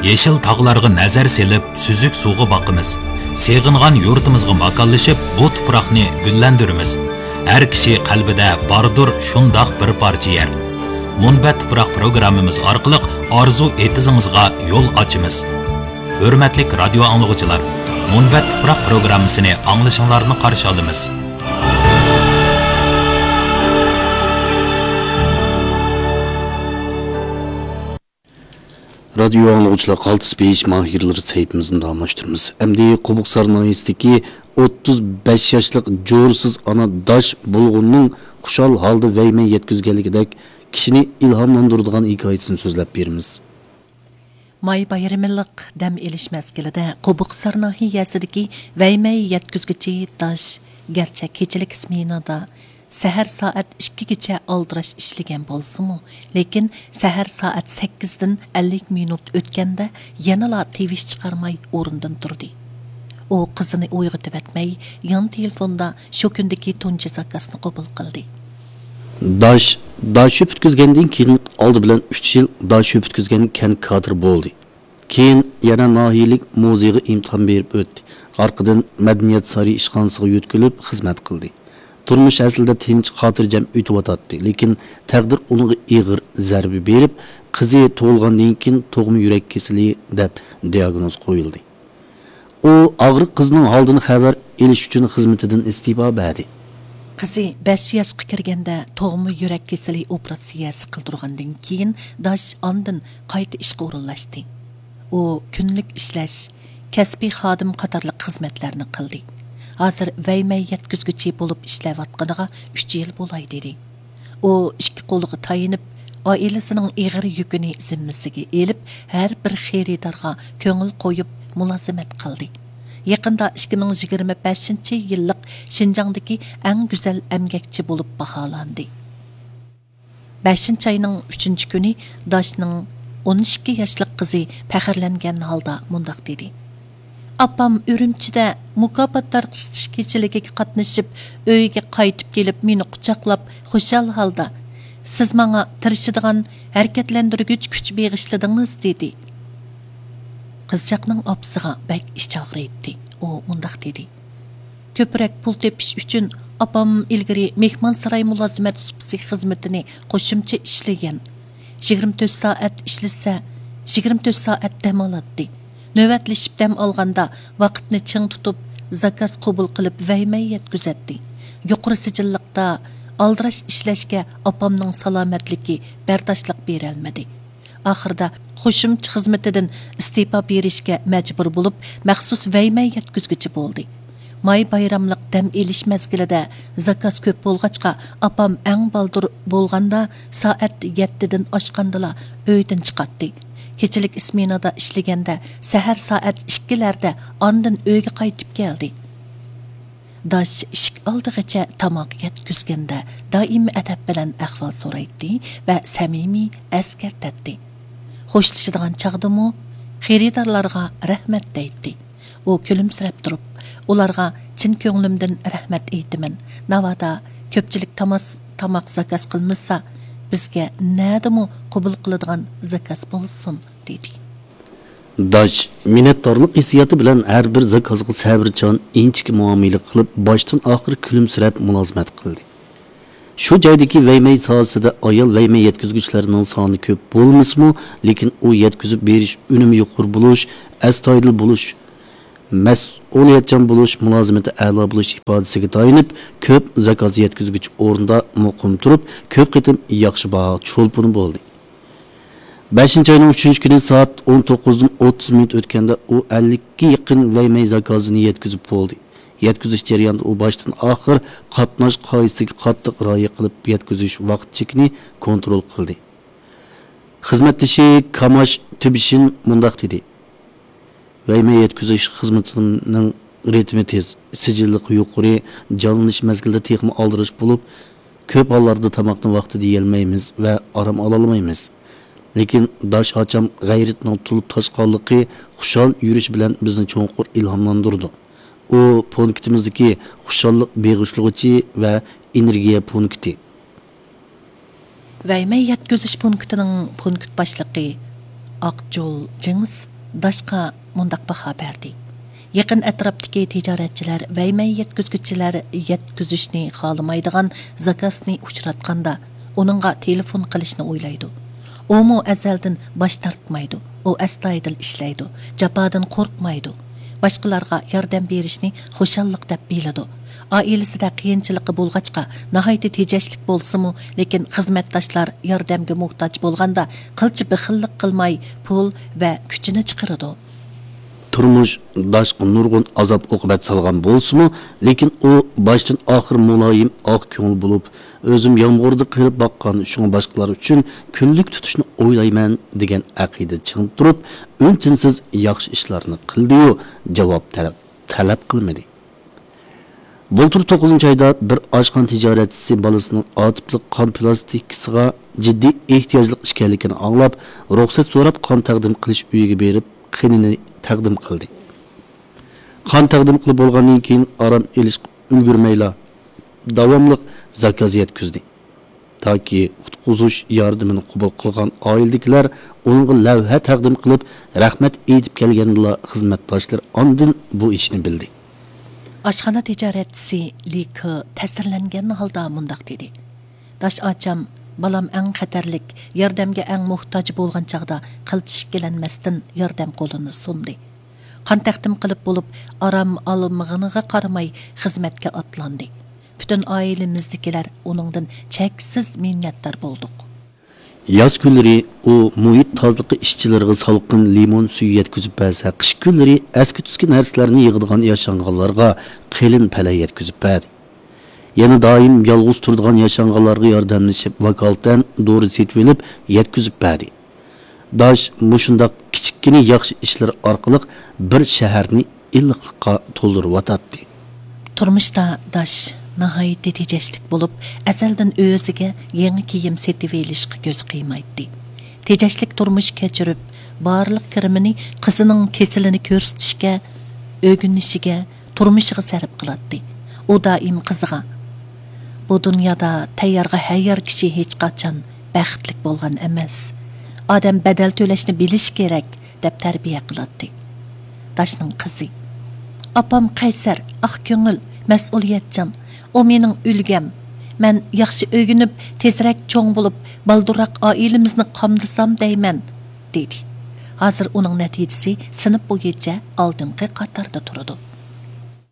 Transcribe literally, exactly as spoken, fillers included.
يېشىل تاغلارغا نەزەر سېلىپ، سۈزۈك سۇغا باقىمىز. سېغىنغان يۇرتىمىزغا ماكانلىشىپ، بۇ تۇپراقنى گۈللەندۈرىمىز. ھەر كىشى قەلبىدە باردۇر شۇنداق بىر پارچە يەر. مۇنبەت تۇپراق پروگراممىمىز ئارقىلىق ئارزۇ ئېتىزىڭىزغا يول ئاچىمىز. ھۆرمەتلىك رادىيو ئاڭلىغۇچىلار، مۇنبەت تۇپراق پروگراممىسىنى ئاڭلىشىڭلارنى قارشى ئالىمىز. رادىيو ئاڭلىغۇچىلار، قالتىس بېيىش ماھىرلىرى سەھىپىمىزنى داۋاملاشتۇرىمىز. ئەمدى قوبۇقسار ناھىيەسىدىكى ئوتتۇز بەش ياشلىق جورىسىز ئانا داش بۇلغۇننىڭ خۇشال ھالدا ۋەيمەي يەتكۈزگەنلىكىدەك كىشىنى ئىلھاملاندۇرىدىغان ھېكايىسىنى سۆزلەپ بېرىمىز. ماي بايرىمىلىق دەم ئېلىش مەزگىلىدە قوبۇقسار ناھىيەسىدىكى ۋەيمەي يەتكۈزگۈچى داش گەرچە كېچىلىك سمېنادا سەھەر سائەت ئىككىگىچە ئالدىراش ئىشلىگەن بولسىمۇ، لېكىن سەھەر سائەت سەككىزدىن ئەللىك مىنۇت ئۆتكەندە يەنىلا تىۋىش چىقارماي ئورنىدىن تۇردى. ئۇ قىزىنى ئويغىتىۋەتمەي، يان تېلېفوندا شۇ كۈندىكى تۇنجى زاكازنى قوبۇل قىلدى. داش، داش شۆپ پۈتكۈزگەندىن كېيىن ئالدى بىلەن ئۈچ يىل داش شۆپ پۈتكۈزگەن كەنت كادىرى بولدى. كېيىن يەنە ناھىيەلىك مۇزېيغا ئىمتىھان بېرىپ ئۆتتى. ئارقىدىن مەدەنىيەت سارىيى ئىشخانىسىغا يۆتكىلىپ خىزمەت قىلدى. تۇرمۇش ئەسلىدە تىنچ، خاتىرجەم ئۆتۈۋاتاتتى، لېكىن تەقدىر ئۇنىڭغا ئېغىر زەربە بېرىپ، قىزى تۇغۇلغاندىن كېيىن تۇغما يۈرەك كېسىلى دەپ دىياگنوز قويۇلدى. ئۇ ئاغرىق قىزىنىڭ ھالىدىن خەۋەر ئېلىش ئۈچۈن خىزمىتىدىن ئىستېپا بەردى. قىزى بەش ياشقا كىرگەندە تۇغما يۈرەك كېسىلى ئوپېراتسىيەسى قىلدۇرغاندىن كېيىن، داش ئاندىن قايتا ئىشقا ئورۇنلاشتى. ئۇ كۈنلۈك ئىشلەش، كەسپىي خادىم قاتارلىق خىزمەتلەرنى قىلدى. ھازىر ۋەيمەي يەتكۈزگۈچى بولۇپ ئىشلەۋاتقىنىغا ئۈچ يىل بولاي دېدى. ئۇ ئىككى قولىغا تايىنىپ، ئائىلىسىنىڭ ئېغىر يۈكىنى زىممىسىگە ئېلىپ، ھەر بىر خېرىدارغا كۆڭۈل قويۇپ مۇلازىمەت قىلدى. يېقىندا ئىككى مىڭ يىگىرمە بەشىنچى يىللىق شىنجاڭدىكى ئەڭ گۈزەل ئەمگەكچى بولۇپ باھالاندى. بەشىنچى ئاينىڭ ئۈچىنچى كۈنى داشنىڭ ئون ئىككى ياشلىق قىزى پەخىرلەنگەن ھالدا مۇنداق دېدى: «ئاپام ئۈرۈمچىدە مۇكاپات تارقىتىش كېچىلىكىگە قاتنىشىپ، ئۆيگە قايتىپ كېلىپ، مېنى قۇچاقلاپ، خۇشال ھالدا، 'سىز ماڭا تىرىشىدىغان ھەرىكەتلەندۈرگۈچ كۈچ بېغىشلىدىڭىز' دېدى.» قىزچاقنىڭ ئاپىسىغا بەك ئىچى ئاغرىيتتى. ئۇ مۇنداق دېدى: «كۆپرەك پۇل تېپىش ئۈچۈن ئاپام ئىلگىرى مېھمانساراي مۇلازىمەت سۇپىسى خىزمىتىنى قوشۇمچە ئىشلىگەن. يىگىرمە تۆت سائەت ئىشلىسە، يىگىرمە تۆت سائەت دەم ئالاتتى. نۆۋەتلىشىپ دەم ئالغاندا ۋاقىتنى چىڭ تۇتۇپ، زاكاز قوبۇل قىلىپ ۋەيمەي يەتكۈزەتتى. يۇقىرى سىجىللىقتا ئالدىراش ئىشلەشكە ئاپامنىڭ سالامەتلىكى بەرداشلىق بېرەلمىدى. ئاخىرىدا قوشۇمچە خىزمىتىدىن ئىستېپا بېرىشكە مەجبۇر بولۇپ، مەخسۇس ۋەيمەي يەتكۈزگۈچى بولدى. ماي بايراملىق دەم ئېلىش مەزگىلىدە زاكاز كۆپ بولغاچقا، ئاپام ئەڭ بالدۇر بولغاندا سائەت يەتتىدىن ئاشقاندىلا ئۆيدىن چىقاتتى. كېچىلىك سمېنادا ئىشلىگەندە سەھەر سائەت ئىككىلەردە ئاندىن ئۆيگە قايتىپ كەلدى. داش ئىشىك ئالدىغىچە تاماق يەتكۈزگەندە دائىم ئەدەپ بىلەن ئەھۋال سورايتتى ۋە سەمىمىي ئەسكەرتەتتى. خوشلىشىدىغان چاغدىمۇ خېرىدارلارغا رەھمەت دەيتتى. ئۇ كۈلۈمسىرەپ تۇرۇپ، ئۇلارغا چىن كۆڭلۈمدىن رەھمەت ئېيتىمەن. ناۋادا كۆپچىلىك تاماس-، تاماق زاكاز قىلمىسا، بىزگە نەدىمۇ قوبۇل قىلىدىغان زاكاز بولسۇن، دېدى. داش مىننەتدارلىق ھېسسىياتى بىلەن ھەر بىر زاكازغا سەۋرچان، ئىنچىكە مۇئامىلە قىلىپ، باشتىن ئاخىر كۈلۈمسىرەپ مۇلازىمەت قىلدى. شۇ جايدىكى ۋەيمەي ساھەسىدە ئايال ۋەيمەي يەتكۈزگۈچىلەرنىڭ سانى كۆپ بولمىسىمۇ، لېكىن ئۇ يەتكۈزۈپ بېرىش ئۈنۈمى يۇقىرى بولۇش، ئەستايىدىل بولۇش، مەسئۇلىيەتچان بولۇش، مۇلازىمىتى ئەلا بولۇش ئىپادىسىگە تايىنىپ، كۆپ زاكاز يەتكۈزگۈچى ئورنىدا مۇقىم تۇرۇپ، كۆپ قېتىم ياخشى باھا چولپىنى بولدى. بەشىنچى ئاينىڭ ئۈچىنچى كۈنى سائەت ئون توققۇزدىن ئوتتۇز مىنۇت ئۆتكەندە، ئۇ ئەللىككە يېقىن ۋەيمەي زاكازىنى يەتكۈزۈپ بولدى. يەتكۈزۈش جەريانىدا ئۇ باشتىن ئاخىر قاتناش قائىدىسىگە قاتتىق رىئايە قىلىپ، يەتكۈزۈش ۋاقىت چېكىنى كونترول قىلدى. خىزمەتدىشى كاماش تۈبىشىن مۇنداق دېدى: ۋەيمەي يەتكۈزۈش خىزمىتىنىڭ رىتىمى تېز، سىجىللىقى يۇقىرى، جانلىنىش مەزگىلىدە تېخىمۇ ئالدىراش بولۇپ، كۆپ ھاللاردا تاماقنى ۋاقتىدا يېيەلمەيمىز ۋە ئارام ئالالمايمىز. لېكىن داش ئاچام غەيرىتىنىڭ تولۇپ تاشقانلىقى، خۇشال يۈرۈشى بىلەن بىزنى چوڭقۇر ئىلھاملاندۇرىدۇ. ئۇ پونكىتىمىزدىكى خۇشاللىق بېغىشلىغۇچى ۋە ئېنېرگىيە پونكىتى. ۋەيمەي يەتكۈزۈش پونكىتىنىڭ پونكىت باشلىقى ئاقجول جېڭىس داشقا مۇنداق باھا بەردى: يېقىن ئەتراپتىكى تىجارەتچىلەر ۋەيمەي يەتكۈزگۈچىلەر يەتكۈزۈشنى خالىمايدىغان زاكازنى ئۇچراتقاندا، ئۇنىڭغا تېلېفون قىلىشنى ئويلايدۇ. ئۇمۇ ئەزەلدىن باش تارتمايدۇ. ئۇ ئەستايىدىل ئىشلەيدۇ، جاپادىن قورقمايدۇ. باشقىلارغا ياردەم بېرىشنى خۇشاللىق دەپ بىلىدۇ. ئائىلىسىدە قىيىنچىلىقى بولغاچقا، ناھايىتى تېجەشلىك بولسىمۇ، لېكىن خىزمەتداشلار ياردەمگە موھتاج بولغاندا قىلچە بېخىللىق قىلماي، پۇل ۋە كۈچىنى چىقىرىدۇ. تۇرمۇش داشقا نۇرغۇن ئازاب-ئوقۇبەت سالغان بولسىمۇ، لېكىن ئۇ باشتىن-ئاخىر مۇلايىم، ئاق كۆڭۈل بولۇپ، «ئۆزۈم يامغۇردا قېلىپ باققان، شۇڭا باشقىلار ئۈچۈن كۈنلۈك تۇتۇشنى ئويلايمەن» دېگەن ئەقىدە چىڭ تۇرۇپ، ئۈن-تىنسىز ياخشى ئىشلارنى قىلدىيۇ، جاۋاب تەلەپ، تەلەپ قىلمىدى. بۇلتۇر توققۇزىنچى ئايدا بىر ئاشخانا تىجارەتچىسى بالىسىنىڭ ئاتىپلىق قان پىلاستىنكىسىغا جىددىي ئېھتىياجلىق ئىكەنلىكىنى ئاڭلاپ، رۇخسەت سوراپ، قان تەقدىم قىلىش ئۆيىگە بېرىپ، قېنىنى تەقدىم قىلدى. قان تەقدىم قىلىپ بولغاندىن كېيىن، ئارام ئېلىشقا ئۈلگۈرمەيلا، داۋاملىق زاكاز يەتكۈزدى. تاكى قۇتقۇزۇش ياردىمىنى قوبۇل قىلغان ئائىلىدىكىلەر ئۇنىڭغا لەۋھە تەقدىم قىلىپ، رەھمەت ئېيتىپ كەلگەندىلا، خىزمەتداشلىرى ئاندىن بۇ ئىشنى بىلدى. ئاشخانا تىجارەتچىسى لى كې تەسىرلەنگەن ھالدا مۇنداق دېدى: «داش ئاچام، بالام ئەڭ خەتەرلىك، ياردەمگە ئەڭ موھتاج بولغان چاغدا قىلچە ئىككىلەنمەستىن ياردەم قولىنى سۇندى. قان تەقدىم قىلىپ بولۇپ، ئارام ئالمىغىنىغا قارىماي خىزمەتكە ئاتلاندى. پۈتۈن ئائىلىمىزدىكىلەر ئۇنىڭدىن چەكسىز مىننەتدار بولدۇق.» ياز كۈنلىرى ئۇ مۇھىت تازىلىقى ئىشچىلىرىغا سالقىن لىمون سۈيى يەتكۈزۈپ بەرسە، قىش كۈنلىرى ئەسكى-تۈسكى نەرسىلەرنى يىغىدىغان ياشانغانلارغا قېلىن پەلە يەتكۈزۈپ بەردى. يەنە دائىم يالغۇز تۇرىدىغان ياشانغانلارغا ياردەملىشىپ، ۋاكالىتەن دورا سېتىۋېلىپ يەتكۈزۈپ بەردى. داش مۇشۇنداق كىچىككىنە ياخشى ئىشلىرى ئارقىلىق بىر شەھەرنى ئىللىقلىققا تولدۇرۇۋاتاتتى. تۇرمۇشتا داش ناھايىتى تېجەشلىك بولۇپ، ئەزەلدىن ئۆزىگە يېڭى كىيىم سېتىۋېلىشقا كۆزى قىيمايتتى. تېجەشلىك تۇرمۇش كەچۈرۈپ، بارلىق كىرىمىنى قىزىنىڭ كېسىلىنى كۆرسىتىشكە، ئۆگىنىشىگە، تۇرمۇشىغا سەرپ قىلاتتى. ئۇ دائىم قىزىغا: «بۇ دۇنيادا تەييارغا ھەييار كىشى ھېچقاچان بەختلىك بولغان ئەمەس. ئادەم بەدەل تۆلەشنى بىلىشى كېرەك» دەپ تەربىيە قىلاتتى. داشنىڭ قىزى: «ئاپام قەيسەر، ئاق كۆڭۈل، مەسئۇلىيەتچان. ئۇ مېنىڭ ئۈلگەم. مەن ياخشى ئۆگىنىپ، تېزرەك چوڭ بولۇپ، بالدۇرراق ئائىلىمىزنى قامدىسام دەيمەن» دېدى. ھازىر ئۇنىڭ نەتىجىسى سىنىپ بويىچە ئالدىنقى قاتاردا تۇرىدۇ.